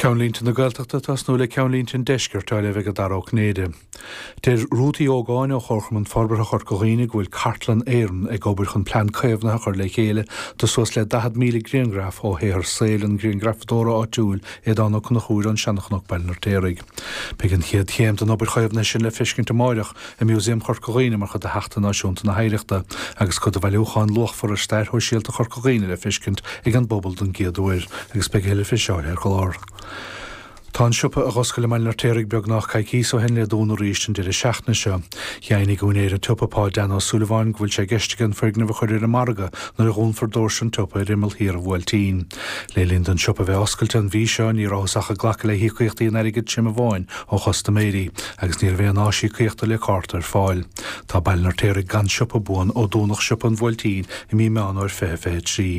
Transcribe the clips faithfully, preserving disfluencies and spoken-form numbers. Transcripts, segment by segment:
Ceannlínte na Gaeltachta tosnú le ceannlínte an deiscirt á léamh ag Dara Ó Cinnéide. Deir Ruth Uí Ógáin ó Chomharchumann Forbartha Chorca Dhuibhne go bhfuil Cartlann Éireann ag obair chun plean caomhnaithe a chur le chéile do suas le daichead míle grianghraf ó shaothar saoil an ghrianghrafadóra áitiúil Aodán Ó Conchúir ón Seanchnoc Baile an Fheirtéaraigh. Beidh an chéad chéim den obair chaomhnaithe sin le feiscint amárach i Músaem Chorca Dhuibhne mar chuid de Sheachtain Náisiúnta na hOidhreachta agus cuid de bhailiúchán luachmhar ar stair shóisialta Chorca Dhuibhne le feiscint ag an bpobal don gcéad uair agus beidh a thuilleadh faoi seo ar an gclár. Tá an siopa a d'oscail i mBaile an Fheirtéaraigh beagnach coicís ó shin le dúnadh arís an deireadh seachtaine seo. Dheimhnigh úinéir an tsiopa Pa Dan Ó Súilleabháin go bhfuil sé i gceist aige an foirgneamh a chur ar an margadh nuair a dhúnfar doirse an tsiopa ar imeall thiar an Bhuailtín. Le linn don siopa bheith oscailte an mhí seo ní rabhthas ach ag glacadh le híocaíochtaí in airgead tirim amháin ó chustaiméirí agus ní raibh aon áis íocaíochta le cárta ar fáil. Tá Baile an Fheirtéaraigh gan siopa buan ó dúnadh siopa an Bhuailtín i mí Meán Fómhair fiche fiche trí.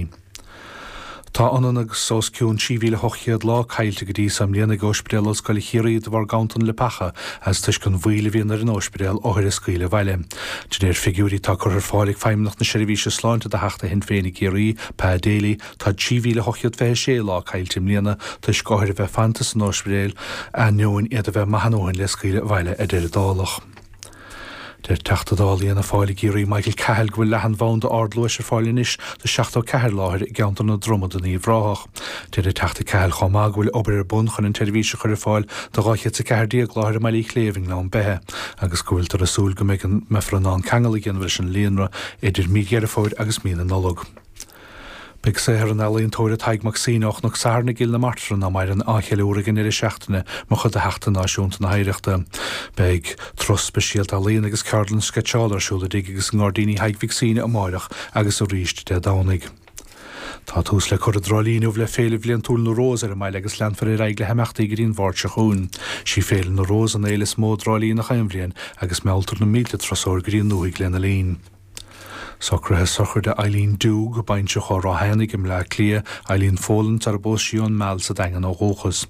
Tá ionann agus os cionn trí mhíle ocht chéad lá caillte go dtí seo i mbliana ag Ospidéal Ollscoile Chiarraí de bharr ganntan leapacha as toisc an mhoill a bhíonn ar an ospidéal othair a scaoileadh abhaile. De réir figiúirí atá curtha ar fáil ag Feidhmeannacht na Seirbhíse Sláinte do Theachta Shinn Féin i gCiarraí, Pa Daly, tá trí mhíle ocht chéad fiche sé lá caillte i mbliana toisc othair a bheith fanta san ospidéal ainneoin iad a bheith maith a ndóthain le scaoileadh abhaile ar deireadh dálach. Deir Teachta Dála Fhianna Fáil i gCiarraí Michael Cahill go bhfuil leathanbhanda ardluais ar fáil anois do seachtó ceathair láthair i gceantar na Droma den Uíbh Ráthach. Deir an Teachta Cahill chomh maith go bhfuil obair ar bun chun an tseirbhís a chur ar fáil do dhá chéad is a ceathair déag láthair i mBaile Uí Chléibh i nGleann Beithe agus go bhfuiltear ag súil go mbeidh an mbeifear in ann ceangal a dhéanamh leis an líonra idir mí Dheireadh Fómhair agus mí na Nollag. Beidh saothar an ealaíontóra Tadhg Mac Suibhne ó Chnoc Sathairn i gCill na Martra ná maireann á cheiliúradh ag an deireadh seachtaine mar chuid de Sheachtain Náisiúnta na hOidhreachta. Beidh turas speisialta ealaíon agus ceardlann sceitseála ar siúl i dtigh agus i ngairdíní Thaidhg Mhic Suibhne amárach agus arís Dé Domhnaigh. Tá tús le cur i dTrá Lí inniu le Féile Bhliantúil na Rós ar an mbaile agus leanfar ar aghaidh le himeachtaí go dtí an Mháirt seo chugainn. Sí Féile na Rós an fhéile is mó i dTrá Lí gach aon bhliain agus mealltar na mílte turasóir go dtí an ndúthaigh lena linn. Socruithe sochraide Eileen Doogue, baintreach ó Ráth Eanaigh i mBleá Cliath, Eileen Folan sar a bpós sí ón Meall sa Daingean ó dhúchas.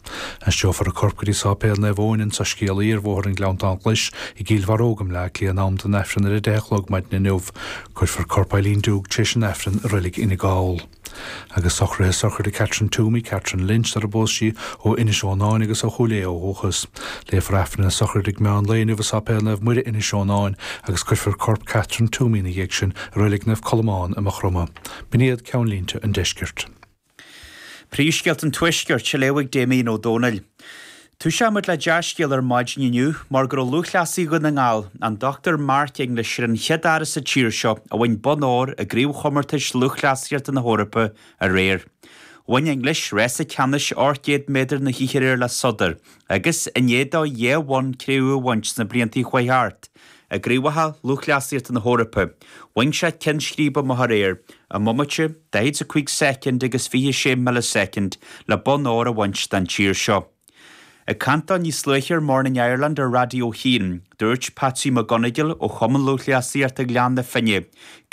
Aistreofar a corp go dtí Sáipéal Naomh Eoin an tSoiscéalaí ar Bhóthar an Ghleanntáin Ghlais i gCill Bharróg i mBleá Cliath in am don Aifreann ar a deich a chlog maidin inniu. Cuirfear corp Eileen Doogue tar éis an Aifrinn i Reilig Fhine Gall. Agus socruithe sochraide Catherine Toomey, Catherine Lynch sar a bpós sí ó Inis Eonáin agus ó Chúil Aodha ó dhúchas. Léifear Aifreann na sochraide ag meán lae inniu i Sáipéal Naomh Muire Inis Eonáin agus cuirfear corp Catherine Toomey ina dhiaidh sin i Reilig Naomh Colmán i Maigh Chromtha. B'in iad ceannlínte an deiscirt. Príomhscéalta an Tuaiscirt á léamh ag Damien Ó Dónaill. Toiseoidh muid le dea-scéal ar maidin inniu mar go raibh lúthchleasaí Dhún na nGall, an Dochtúir Mark English ar an chéad fhear sa tír seo a bhain bonn óir i gCraobhchomórtais Lúthchleasaíochta na hEorpa aréir. Bhain English rása ceannais ocht gcéad méadar na hoíche aréir le sodar agus, i ndiaidh dó dhá bhonn cré-umha a bhaint sna blianta a chuaigh thart i gCraobhacha Lúthchleasaíochta na hEorpa, bhain sé ceann scríbe amach aréir i mbomaite, daichead a cúig soicind agus fiche sé milleasoicind le bonn óir a bhaint don tír seo. Ag caint dó níos luaithe ar Morning Ireland ar Raidió a hAon, dúirt Patsy McGonigal ó Chumann Lúthchleasaíochta Ghleann na Finne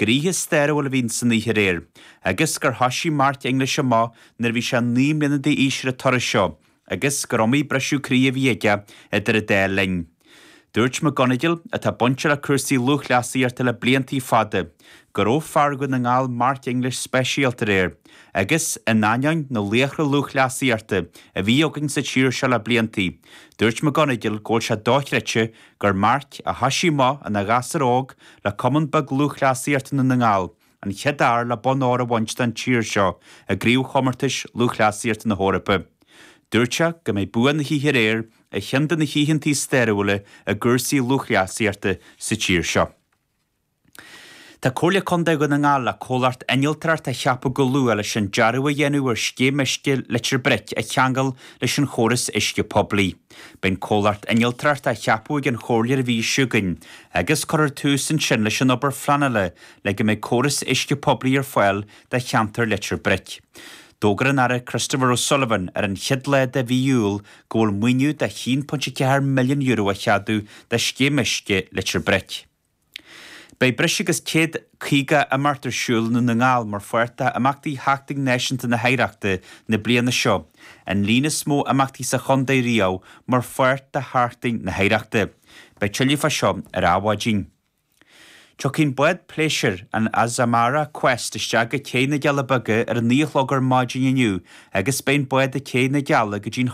gur oíche stairiúil a bhí san oíche aréir agus gur thoisigh Mark English amach nuair a bhí sé naoi mbliana d'aois ar an turas seo agus gur iomaí briseadh croí a bhí aige idir an dá linn. Dúirt McGonigal, atá bainte le cúrsaí lúthchleasaíochta le blianta fada, go raibh fear Dhún na nGall Mark English speisialta aréir agus, in ainneoin na laochra lúthchleasaíochta a bhí againn sa tír seo le blianta, dúirt McGonigal go bhfuil sé dochreidte gur Mark, a thoisigh amach ina ghasúr óg le Cumann beag Lúthchleasaíochta Dhún na nGall, an chéad fhear le bonn óir a bhaint don tír seo i gCraobhchomórtais Lúthchleasaíochta na hEorpa. Dúirt sé go mbeidh bua na hoíche aréir ar cheann de na hoícheanta stairiúla i gcúrsaí lúthchleasaíochta sa tír seo. Tá Comhairle Contae Dhún na nGall le comhlacht innealtóireachta a cheapadh go luath leis an dearadh a dhéanamh ar scéim uisce Leitir Bric a cheangal leis an chóras uisce poiblí. Beidh an comhlacht innealtóireachta á cheapadh ag an Chomhairle an mhí seo chugainn agus cuirfear tús ansin leis an obair phleanála le go mbeidh córas uisce poiblí ar fáil do cheantar Leitir Bric. D'fhógair an Aire Christopher O'Sullivan ar an chéad lá de mhí Iúil go bhfuil maoiniú de a haon ponc ceathair milliún euro á cheadú do scéim uisce Leitir Bric. Beidh breis agus céad caoga imeacht ar siúl i nDún na nGall mar pháirt d'imeachtaí Sheachtain Náisiúnta na hOidhreachta na bliana seo, an líon is mó imeachtaí sa chontae riamh mar pháirt de Sheachtain na hOidhreachta. Beidh tuilleadh fá seo ar Adhmhaidin. Tiocfaidh an bád pléisiúir, an Azamara Quest, isteach go Cé na gCealla Beaga ar a naoi a chlog ar maidin inniu agus beidh an bád ag Cé na gCealla go dtí'n